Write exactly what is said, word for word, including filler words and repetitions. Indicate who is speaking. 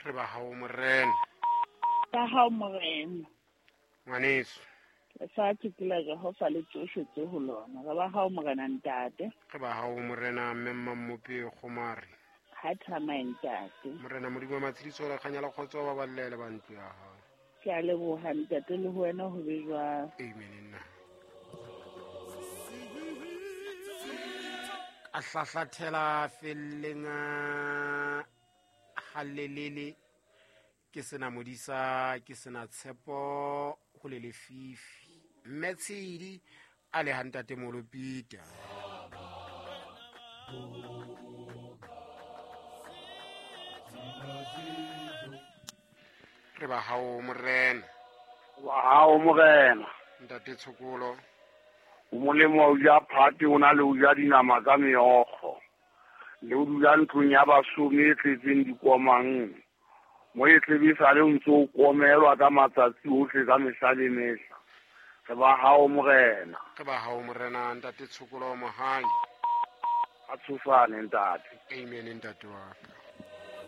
Speaker 1: Re ba hao morena.
Speaker 2: Ba hao morena.
Speaker 1: Ngwaneso.
Speaker 2: Lefatshe ke la Jehova le tsohle tse ho lona. Re ba hao morena ntate.
Speaker 1: Re ba hao morena mme Mmamope Kgomare.
Speaker 2: Ha thamae ntate.
Speaker 1: Morena Modimo wa matshediso le kganya le kgotso ba ballele ba ntlo ya hao.
Speaker 2: Ke a leboha ntate le ho wena ho be jwalo.
Speaker 1: Amen nna. A hlahlathela felleng halelele ke sena modisa ke sena tshepo ho le lefifi mme Tshidi a le ha ntate Molopita. Re ba hao morena.
Speaker 3: Ba hao morena.
Speaker 1: Ntate Tshokolo.
Speaker 3: O molemo wa ho ja phate o na le ho ja dinama ka meokgo. Le o dula ntlong ya basomi e tletseng dikomang. Mo e tlebisa le o ntse o komelwa ka matsatsi ohle ka mehla le mehla. Re ba hao morena.
Speaker 1: Re ba hao morena ntate Tshokolo Mohai.
Speaker 3: A tshosane ntate.
Speaker 1: Amen ntate wa ka.